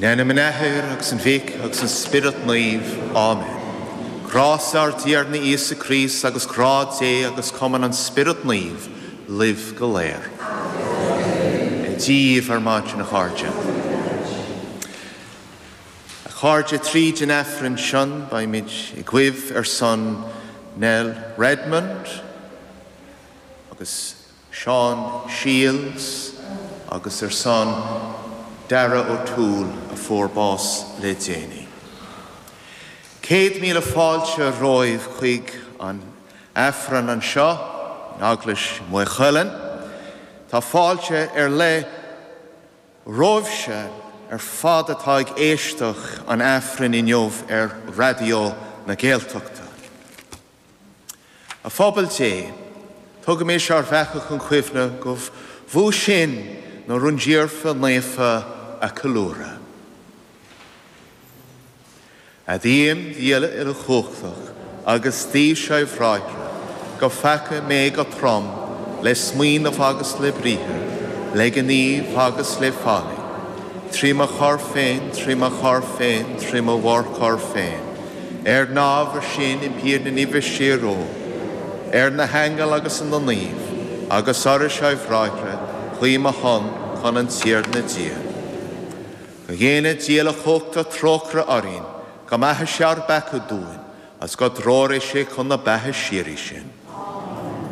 In ainm an Athar agus an Mhic agus an Spiorad Naoimh. Amen. Grása ár dTiarna Íosa Críost agus grá Dé agus cumann an Spiorad Naoimh libh go léir. Amen. Dia daoibh ar maidin, a chairde. A chairde, tríd an Aifreann seo beimid ag guibh ar son Nell Redmond agus Seán Shiels agus ar son Dara O'Toole a fuair bás le déanaí. 100,000 fáilte romhaibh chuig an Aifreann anseo in Eaglais Mhaigh Cuilinn. Tá fáilte ar leith romhaibhse ar fad atá ag éisteacht an Aifrinn inniu ar Raidió na Gaeltachta. A phobal Dé, tugaimis ár bpeaca chun cuimhne gurbh fhiú sinn na rúndiamhra naofa a ceiliúradh. Admhaím Dia uilechumhachtach agus daoibhse a bhráithre, go pheacaigh mé go trom le smaoineamh agus le briathar, le gníomh agus le faillí, 3 mo choir féin, 3 mo choir féin, 3 mo mhórchoir féin. Ar an ábhar sin, impím ar na neamhaithe síoróg, ar na haingil agus ar na naoimh, agus oraibhse a bhráithre, guí ar mo shon chun an Tiarna Dia. Go ndéana Dia uilechumhachtach trócaire orainn, go maithe sé ár bpeaca dúinn, agus go dtreoraí sé chun na beatha síoraí sinn.